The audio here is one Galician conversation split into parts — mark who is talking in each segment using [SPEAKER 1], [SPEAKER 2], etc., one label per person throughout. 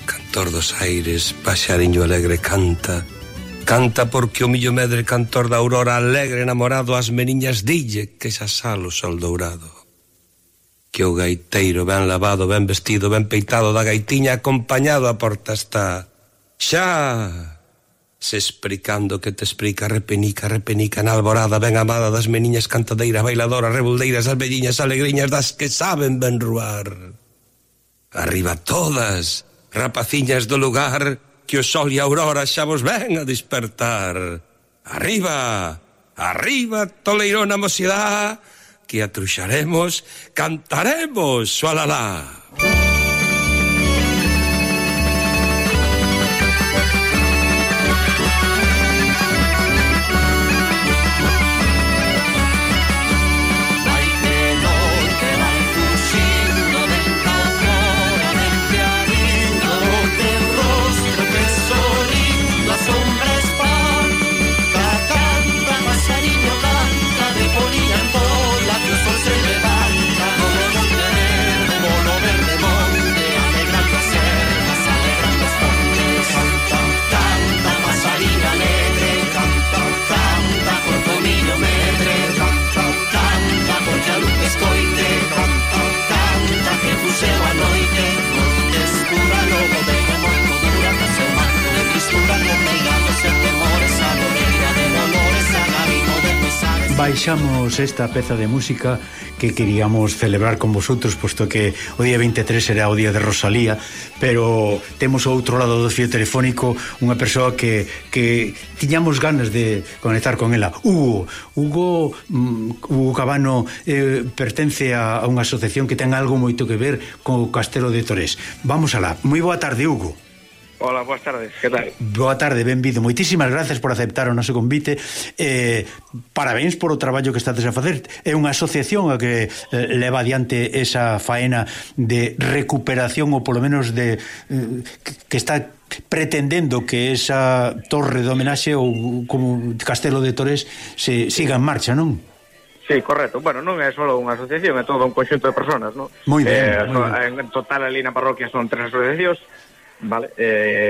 [SPEAKER 1] Cantor dos aires, paxariño alegre canta. Canta porque o millo medre cantor da aurora alegre namorado as meniñas dille que xa sale o sol dourado. Que o gaiteiro ben lavado, ben vestido, ben peitado da gaitiña acompañado a porta está. Xa se explicando que te explica repenica, repenica na alborada ben amada das meniñas cantadeiras, bailadoras, rebuldeiras, as velliñas alegriñas das que saben ben ruar. Arriba todas, rapaciñas do lugar, que o sol e a aurora xa vos ven a despertar. Arriba, arriba, toleirona mocidá, que atruxaremos, cantaremos, xualalá.
[SPEAKER 2] Baixamos esta peza de música que queríamos celebrar con vosotros, posto que o día 23 era o día de Rosalía, pero temos ao outro lado do fío telefónico unha persoa que tiñamos ganas de conectar con ela. Hugo Cabano pertence a unha asociación que ten algo moito que ver co Castelo de Torés. Vamos alá. Moi boa tarde, Hugo.
[SPEAKER 3] Hola, boas tardes, que tal?
[SPEAKER 2] Boa tarde, benvido. Moitísimas gracias por aceptar o noso convite. Parabéns por o traballo que estades a facer. É unha asociación a que leva adiante esa faena de recuperación, ou polo menos de que está pretendendo que esa torre de homenaxe ou como Castelo de Torés se siga en marcha, non?
[SPEAKER 3] Sí, correcto. Bueno, non é só unha asociación, é todo un conxunto de personas, non?
[SPEAKER 2] Moi ben, moi ben.
[SPEAKER 3] En total ali na parroquia son 3 asociacións. Vale,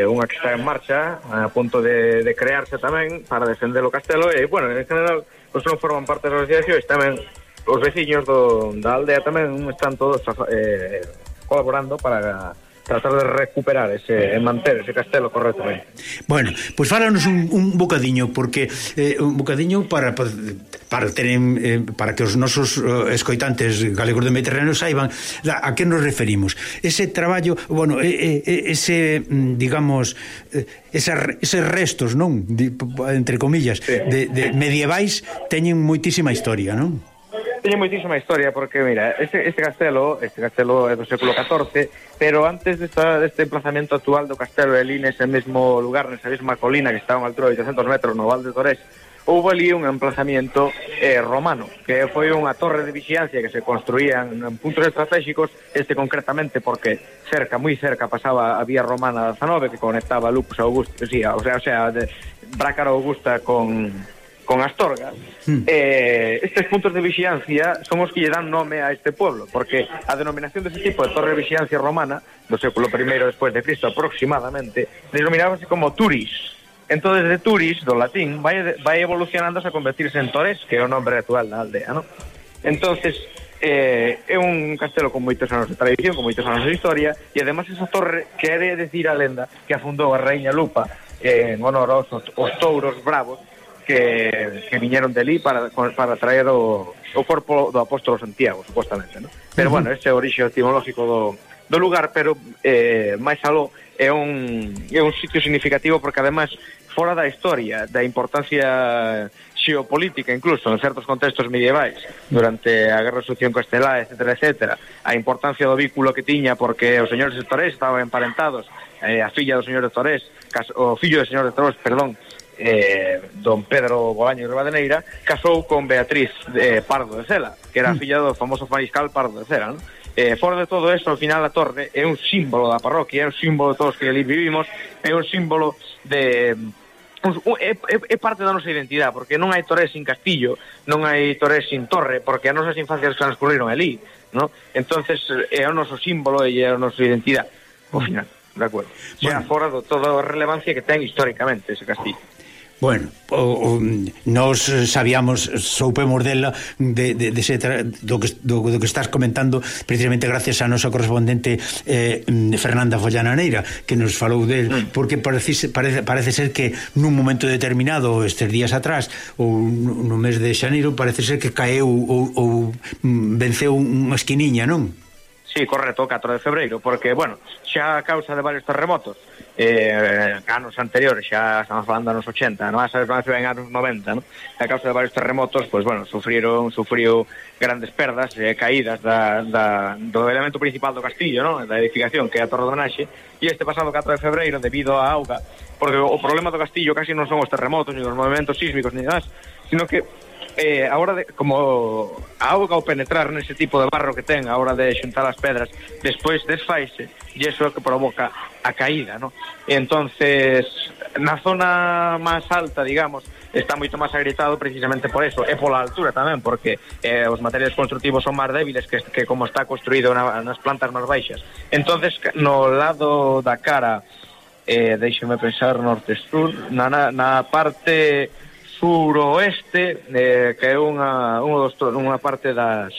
[SPEAKER 3] unha que está en marcha a punto de crearse tamén para defender o castelo e, bueno, en general os non forman parte das asociacións tamén os veciños da aldea tamén están todos colaborando para tratar de recuperar e manter ese castelo correctamente.
[SPEAKER 2] Bueno, pois fálanos un bocadiño, porque un bocadiño para que os nosos escoitantes galegos de Mediterráneo saiban a que nos referimos. Ese traballo, bueno, ese, digamos, eses restos, non? Entre comillas,
[SPEAKER 3] sí,
[SPEAKER 2] de medievais teñen moitísima historia, non?
[SPEAKER 3] Teñe moitísima historia porque, mira, este castelo é do século XIV, pero antes deste emplazamento actual do castelo de ali nese mesmo lugar, nesa mesma colina que está a unha altura de 800 metros no Val de Torés, houve ali un emplazamiento romano, que foi unha torre de vigilancia que se construía en puntos estratégicos, concretamente porque moi cerca pasaba a vía romana 19 que conectaba Lupus a Augusta, o sea, de Brácara Augusta con Astorga. Estes puntos de vigilancia son os que lle dan nome a este pueblo, porque a denominación deste tipo de torre de vigilancia romana do século I despois de Cristo aproximadamente denominábase como Turis. Entón, de Turis, do latín, vai evolucionando a convertirse en Torés, que é o nombre actual da aldea, non? Entonces, é un castelo con moitos anos de tradición, con moitos anos de historia, e además esa torre quere decir a lenda que afundou a Raíña Lupa en honor aos touros bravos que viñeron de ali para traer o corpo do apóstolo Santiago, supostamente, ¿no? Pero bueno, ese é o orixe etimológico do lugar, pero máis aló é un sitio significativo porque además fora da historia, da importancia xeopolítica incluso en certos contextos medievais durante a Guerra de Sucesión Castelá, etcétera, a importancia do vínculo que tiña porque os señores de Torés estaban emparentados, a filla do señor de Torés, o fillo do señor de Torés, perdón, don Pedro Bolaño de Rivadeneira casou con Beatriz Pardo de Cela, que era a filla do famoso mariscal Pardo de Cela, ¿no? Fora de todo eso, ao final a torre é un símbolo da parroquia, é un símbolo de todos que ali vivimos, é un símbolo de é parte da nosa identidade, porque non hai Torés sin castillo, non hai Torés sin torre, porque as nosas infancias transcurriron ali, ¿no? Entonces é o noso símbolo e é a nosa identidade ao final. de acordo. Xa fora de toda a relevancia que ten históricamente ese castillo.
[SPEAKER 2] Bueno, nos soupemos dela do que estás comentando precisamente gracias a nosa correspondente Fernanda Follana Neira, que nos falou del, porque parece ser que nun momento determinado estes días atrás ou no mes de xaneiro parece ser que caeu ou venceu unha esquiniña, non?
[SPEAKER 3] Sí, correcto, o 4 de febreiro, porque, bueno, xa a causa de varios terremotos anos anteriores, xa estamos falando anos 80, non? En anos 90, non? A causa de varios terremotos, pois, bueno, sufriu grandes perdas, caídas do elemento principal do castillo, non? Da edificación, que é a Torre do Naxe, e este pasado 4 de febreiro, debido á auga, porque o problema do castillo casi non son os terremotos, ni os movimentos sísmicos, ni nada, sino que a hora de, como a auga ao penetrar nese tipo de barro que ten a hora de xuntar as pedras, despois desfaise e iso é o que provoca a caída, ¿no? E entonces na zona máis alta, digamos, está moito máis agrietado precisamente por eso, e pola altura tamén, porque os materiais constructivos son máis débiles que como está construído nas plantas máis baixas. Entonces no lado da cara deixeme pensar, norte-sur, na parte suroeste, que é unha parte das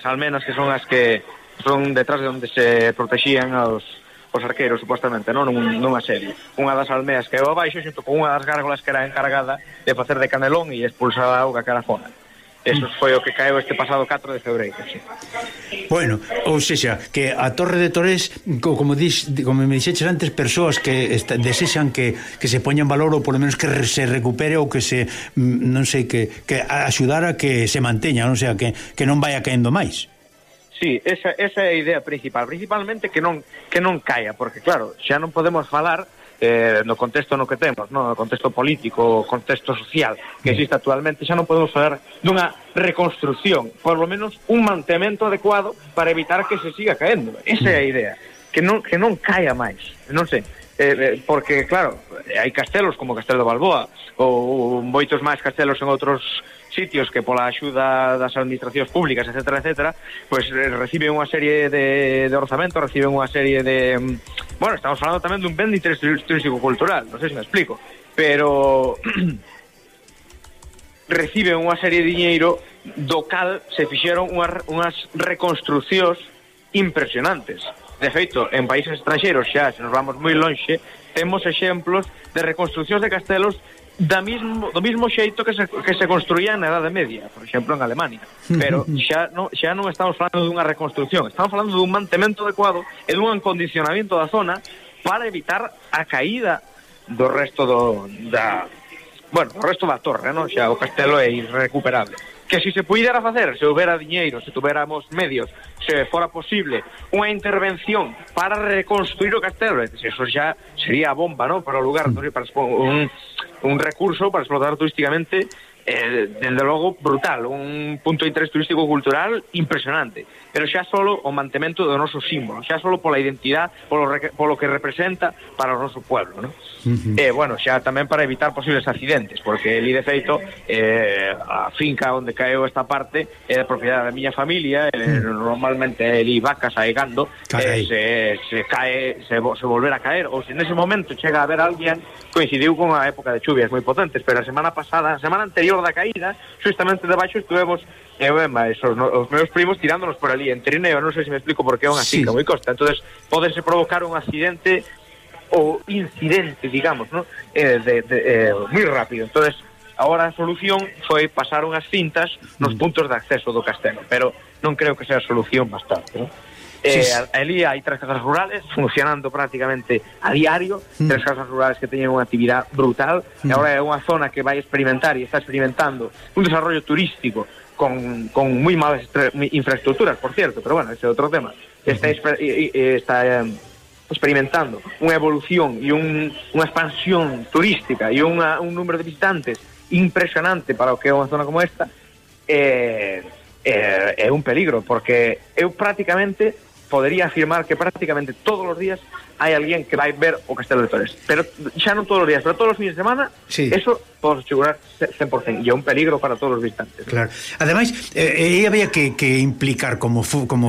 [SPEAKER 3] almenas que son as que son detrás de onde se protexían os arqueiros, supostamente, non? Nunha serie. Unha das almeas que é abaixo, xunto con unha das gárgolas que era encargada de facer de canelón e expulsar a auga cara fora. Eso foi o que caeu este pasado 4 de febreiro, sí.
[SPEAKER 2] Bueno, ou sexa, que a Torre de Torés, como me dixeches antes, persoas que desexan que se poña en valor ou polo menos que se recupere ou que se, non sei, que axudar a que se manteña, non sea, que non vaya caendo máis.
[SPEAKER 3] Sí, esa é a idea principalmente que non caia, porque claro, xa non podemos falar no contexto no que temos, no contexto político, contexto social que existe actualmente, xa non podemos falar dunha reconstrucción, por lo menos un mantemento adecuado para evitar que se siga caendo. Esa é a idea, que non caia máis, non sei, porque claro, hai castelos como Castelo de Balboa ou moitos máis castelos en outros sitios que pola axuda das administracións públicas, etcétera, pues reciben unha serie de orzamentos, reciben unha serie de... Bueno, estamos falando tamén dun ben de interés turístico-cultural, non sei se me explico, pero reciben unha serie de diñeiro do cal se fixeron unhas reconstruccións impresionantes. De feito, en países estranxeiros xa, se nos vamos moi lonxe, temos exemplos de reconstruccións de castelos do mismo xeito que se construía na Edade Media, por exemplo en Alemania, pero xa non estamos falando dunha reconstrucción, estamos falando dun mantemento adecuado e dun acondicionamento da zona para evitar a caída do resto do resto da torre, non? Xa o castelo é irrecuperable. Que se puidera facer, se houbera diñeiro, se tuveramos medios, se fora posible unha intervención para reconstruir o castelo, eso xa sería a bomba, non? Para o lugar, para un recurso para explotar turísticamente, dende logo brutal, un punto de interés turístico-cultural impresionante, pero xa solo o mantemento do noso símbolo, xa solo pola identidade, polo que representa para o noso pueblo, non? Bueno, xa tamén para evitar posibles accidentes, porque ali de feito a finca onde caeu esta parte é de propiedade da miña familia, normalmente ali vacas aigando, se cae, se volver a caer, ou se nese momento chega a haber alguén, coincidiu con a época de chuvias moi potentes, pero a semana anterior da caída, justamente debaixo estuvemos os meus primos tirándonos por ali en trineo, non sei se me explico, porque é unha finca moi costa, entonces pódese provocar un accidente ou incidente, digamos, ¿no? Moi rápido. Entonces, agora a solución foi pasar unhas cintas nos puntos de acceso do castelo, pero non creo que sea a solución bastante, ¿no? Ali hai 3 casas rurales funcionando prácticamente a diario, 3 casas rurales que teñen unha actividade brutal, e agora é unha zona que vai experimentar e está experimentando un desarrollo turístico con moi malas infraestructuras, por cierto, pero bueno, ese é outro tema. Está experimentando unha evolución e unha expansión turística e un número de visitantes impresionante para o que é unha zona como esta, é un peligro, porque eu prácticamente podería afirmar que prácticamente todos os días hai alguén que vai ver o Castelo de Torres, pero xa non todos os días, pero todos os fines de semana, sí. Eso podes asegurar 100%, e é un peligro para todos os visitantes.
[SPEAKER 2] Claro. Ademais, había que implicar como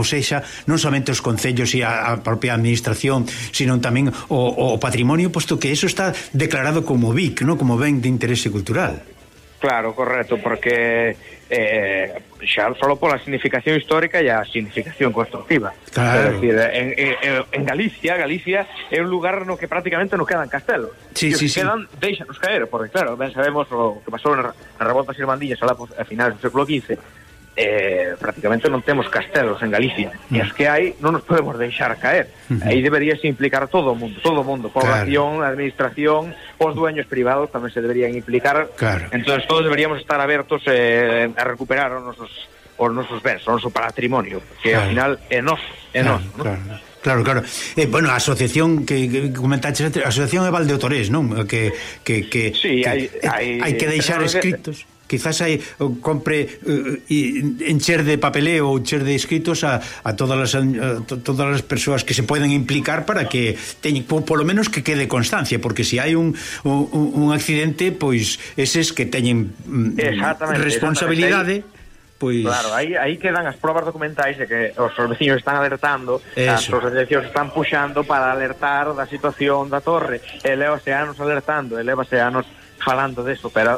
[SPEAKER 2] sexa, non somente os concellos e a propia administración, sino tamén o patrimonio, posto que eso está declarado como BIC, ¿no? Como ben de interese cultural.
[SPEAKER 3] Claro, correcto, porque xa só pola significación histórica e a significación constructiva.
[SPEAKER 2] Claro.
[SPEAKER 3] É dicir, en Galicia é un lugar no que prácticamente non quedan castelos.
[SPEAKER 2] Sí,
[SPEAKER 3] e os
[SPEAKER 2] sí,
[SPEAKER 3] que quedan, deixanos caer, porque claro, ben sabemos o que pasou na revolta irmandiñas a finales do século XV. Prácticamente non temos castelos en Galicia, e as que hai non nos podemos deixar caer. Aí deberíase implicar todo o mundo, población, claro. Administración, os dueños privados tamén se deberían implicar, claro. Entonces todos deberíamos estar abertos a recuperar os nosos bens, o noso patrimonio, que claro. Ao final é noso, ¿no?
[SPEAKER 2] Claro. Bueno, a asociación que comentaste, a asociación é Val de Torés, non?
[SPEAKER 3] Sí,
[SPEAKER 2] hai que deixar escritos. Quizás hai compre encher de papeleo ou encher de escritos a todas as persoas que se poden implicar para que teñen, polo menos que quede constancia, porque se hai un accidente, pois eses que teñen responsabilidade. Pois...
[SPEAKER 3] Claro, aí quedan as probas documentais de que os veciños están alertando, as asociacións están puxando para alertar da situación da torre, e lévase anos alertando, e lévase anos falando deso, pero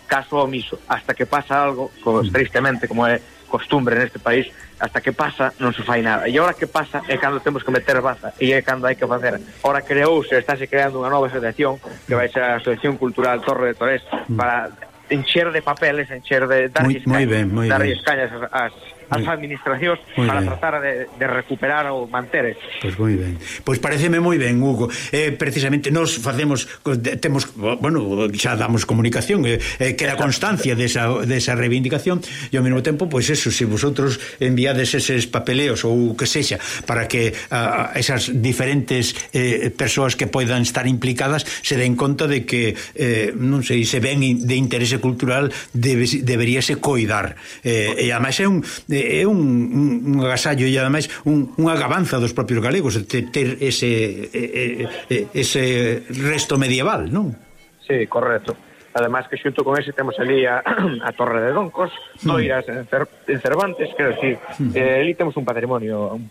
[SPEAKER 3] caso omiso, hasta que pasa algo, tristemente, como é costumbre neste país, hasta que pasa non se fai nada. E ahora que pasa é cando temos que meter baza, e é cando hai que facer. Ahora estáse creando unha nova asociación, que vai ser a Asociación Cultural Torre de Torres, para encher de papeles, dar escañas as administracións para tratar de recuperar ou manter.
[SPEAKER 2] Pois moi ben. Pois pareceme moi ben, Hugo. Precisamente nos temos, bueno, xa damos comunicación, queda constancia desa reivindicación, e ao mesmo tempo, pois eso, se vosotros enviades eses papeleos ou que sexa, para que esas diferentes persoas que poidan estar implicadas se den conta de que non sei, se ven de interese cultural deberíase coidar. E ademais é un agasallo e ademais unha gabanza dos propios galegos ter ese resto medieval, non?
[SPEAKER 3] Sí, correcto. Además que xunto con ese temos ali a Torre de Doncos, Noiras en Cervantes, quero dicir, ali temos un patrimonio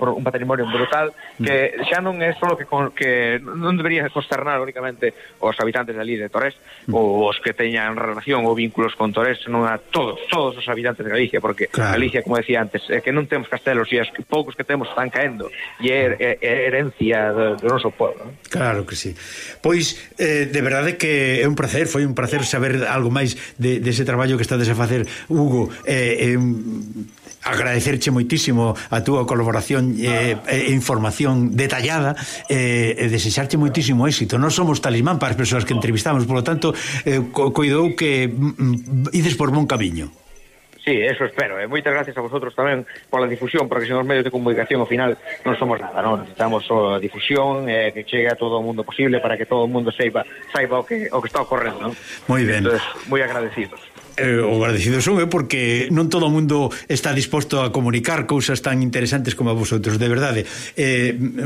[SPEAKER 3] brutal que xa non é só que non debería consternar únicamente os habitantes ali de Torres ou os que teñan relación ou vínculos con Torres, senón a todos os habitantes de Galicia, porque claro. Galicia, como decía antes, é que non temos castelos e os poucos que temos están caendo e é herencia do noso povo, non?
[SPEAKER 2] Claro que sí. Pois, de verdade que é un placer, foi un placer saber algo máis dese traballo que estades a facer, Hugo. Agradecerche moitísimo a túa colaboración e información detallada, e desexarche moitísimo éxito. Non somos talismán para as persoas que entrevistamos, por lo tanto, coidou que ides por bon camiño.
[SPEAKER 3] Sí, eso espero. Moitas gracias a vosotros tamén pola difusión, porque sen os medios de comunicación ao final non somos nada, non? Necesitamos a difusión, que chegue a todo o mundo posible para que todo o mundo saiba o que está ocorrendo, non?
[SPEAKER 2] Moi ben.
[SPEAKER 3] Entonces, moi agradecidos.
[SPEAKER 2] O agradecido son, porque non todo o mundo está disposto a comunicar cousas tan interesantes como a vosotros, de verdade.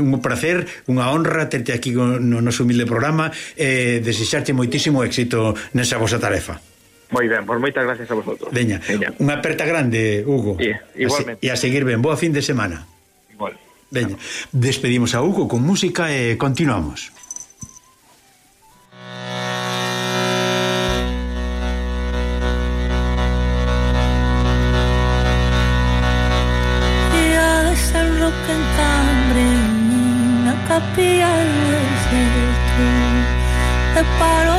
[SPEAKER 2] Un placer, unha honra terte aquí no noso humilde programa, desexarte moitísimo éxito nesa vosa tarefa.
[SPEAKER 3] Moi ben, pois moitas gracias a vosotros.
[SPEAKER 2] Veña, unha aperta grande, Hugo.
[SPEAKER 3] Igualmente.
[SPEAKER 2] E a seguir ben, boa fin de semana.
[SPEAKER 3] Igual.
[SPEAKER 2] Veña, despedimos a Hugo con música e continuamos.
[SPEAKER 4] Ya está el rock en Cambre, na capilla do exército, te paro